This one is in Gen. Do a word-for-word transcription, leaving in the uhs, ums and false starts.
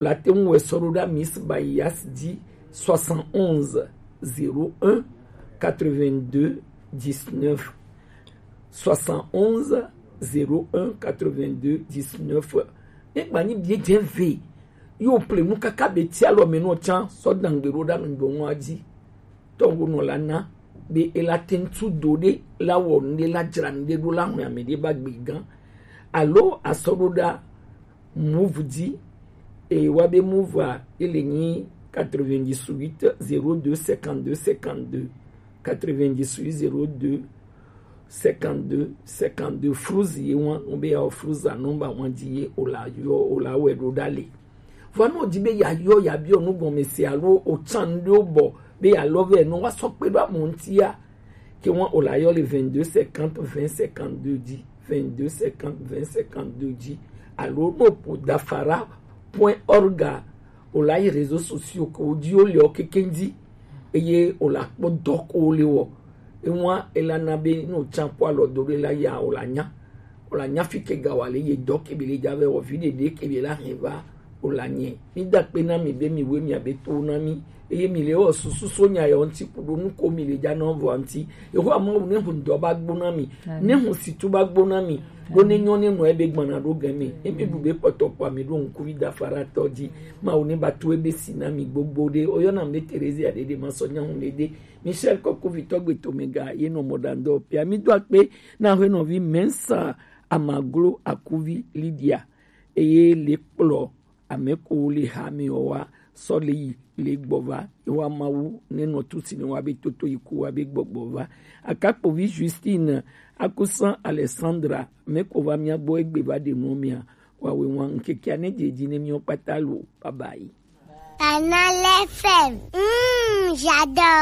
La te ŋu wɛ sɔ ɖo ɖa Miss Bayas ji, soixante-onze zéro un quatre-vingt-deux dix-neuf. Soixante-onze zéro un quatre-vingt-deux dix-neuf. Ne gba nyi bie dze ve. Yo ple nu kaka be ti alɔ me nɔ tsan sɔ dangbe ɖo ɖa nugbo ŋua ji. Tɔwo nɔ la na be ela te ŋu tu do ɖe la wɔ nu ɖe la dzra nu ɖe ɖo la ŋlɔ ame ɖe ba gbe gã. Alo asɔ ɖo ɖa Moov ji, e wa be Moov a, ele nyi quatre-vingt-dix-huit zéro deux cinquante-deux cinquante-deux, quatre-vingt-dix-huit zéro deux cinquante-deux cinquante-deux. Fruz ye wan, no be ya o Fruz a nɔmba wan ji ye o la yɔ, o la wɛ ɖo ɖa le. Vɔ no di be ya yɔ ya biɔ nu gɔme se alo o tsan ɖo bɔ be ya lɔ vɛ no wa sɔ kpe ɖo amɔ ŋuti ya. Ke wan o la yɔ le vingt-deux cinquante vingt cinquante-deux ji, vingt-deux cinquante vingt cinquante-deux ji, alo no po dafara point org a, o la yi réseaux sociaux ko ji o le o keke ji, eye o la kpɔ dɔ ko o le wɔ. Ewan e la na be no tsan kpɔ alɔ do ɖe la ya o la nya. O la nya fi ke ga wa le ye dɔ ke be le ja vɛ wɔ vi ɖeɖe ke be la hɛn va o la nyɛ. Mi da kpe na mi be mi we mi abe to na mi. Eye mi le wɔ susu so nya yɔ ŋuti ku ɖo nu ko mi le ja na vɔ ŋuti. Yehowa Mawu ne hun dɔ ba gbo na mi. Ne hun situ ba gbo na mi. Ɖo ne nyɔ ne nɔ ebe gbana ɖo gɛ mi. Emi bu be kpɔtɔ kpɔ mi ɖo ŋku vi da fara tɔ ji. Mawu ne ba to ebe si na mi gbogbo ɖe. O yɔ na mi be Terezia ɖeɖe ma sɔ nya hun ɖeɖe. Michel Kɔkuvitɔ gbe to me ga ye nɔ mɔ ɖa ŋdɔ pia mi do akpe na aƒenɔvi Mensa Amaglo Akuvi Lydia. Eye le kplɔ ame ko le ha mi wa sɔ le yi le gbɔ va. Ewa Mawu ne nɔ tu si ne wa be toto yi ku wa be gbɔgbɔ va. Akakpovi Justine, Akusan Alexandra, me ko va mia gbɔ egbe va ɖe nu mia. Wa we wan nkeke ne je ji ne mi kpata lo. Bye bye. Canal F M. Mm, j'adore.